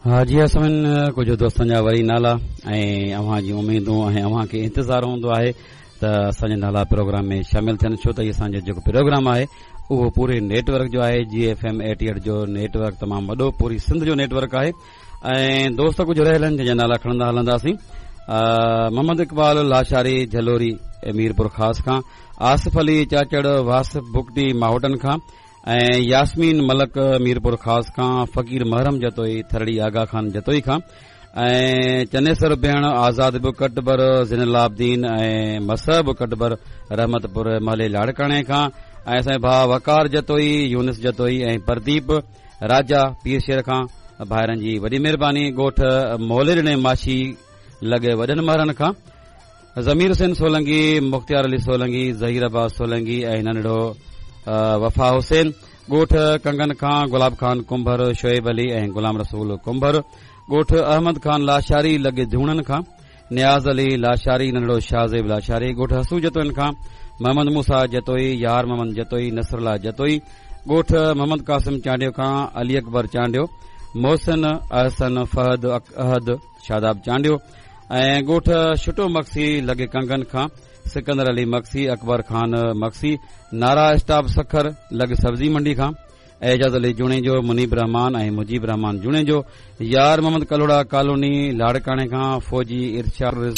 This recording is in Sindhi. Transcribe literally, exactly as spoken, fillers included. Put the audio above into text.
ها جي اسمن ڪجهه دوستن جا وري نالا ۽ اوهان جون اميدون ۽ اوهان کي انتظار هوندو آهي ته اسان جا نالا پروگرام ۾ شامل ٿين، ڇو ته اسان جو جيڪو پروگرام آهي اهو پوري نيٽ ورڪ جو آهي. جي ايف ايم ايٽي ايٽ جو نيٽ ورڪ تمام وڏو پوري سنڌ جو نيٽ ورڪ آهي ۽ دوست ڪجهه رهيل آهن جنهن جا نالا کڻندا هلنداسين. محمد اقبال لاشاري جهلوري ميرپور خاص کان، آصف علي چاچڙ واسف بگٽي ماهوٽن کان ۽ ياسمين ملڪ ميرپور خاص کان، فقير محرم جتوئي ٿرڙي آغا خان جتوئي کان ۽ چنيسر بيڻ آزاد به ڪٽبر زين العابدين ۽ مصعب ڪٽبر رحمت پور محلي لاڙڪاڻي کان ۽ اسان ڀاءُ وقار جتوئي، يونس جتوئي ۽ پرديپ راجا پير شير کان. ڀائرن جي وڏي مهرباني. ڳوٺ موليڏني ماشي لڳي وڏن مهرن کان ضمير حسين سولنگي، مختيار علي سولنگي، ظهير عباس سولنگي ۽ ننڍڙو وفا حسين. ڳوٺ ڪنگن کان گلاب خان ڪنڀر، شعيب علي ۽ غلام رسول ڪنڀر. ڳوٺ احمد خان لاشاري لڳي ڌوڻن کان نياز علي لاشاري، ننڍڙو شاهزيب لاشاري. ڳوٺ حسو جتوئين کان محمد موسيٰ جتوئي، يار محمد جتوئي، نصر الله جتوئي. ڳوٺ محمد قاسم چانڊيو کان علي اڪبر چانڊيو، محسن احسن فهد احد شاداب چانڊيو ۽ ڳوٺ شٽو مگسي لڳي ڪنگن کان سڪندر علي مگسي، اڪبر خان مگسي، نارا اسٽاپ سکر لڳ سبزي منڊي کان اعجاز علي جوڻيجو، منيب رحمان ۽ مجيب رحمان جوڻيجو، يار محمد ڪلهوڙا ڪالوني لاڙڪاڻي کان فوجي ارشاد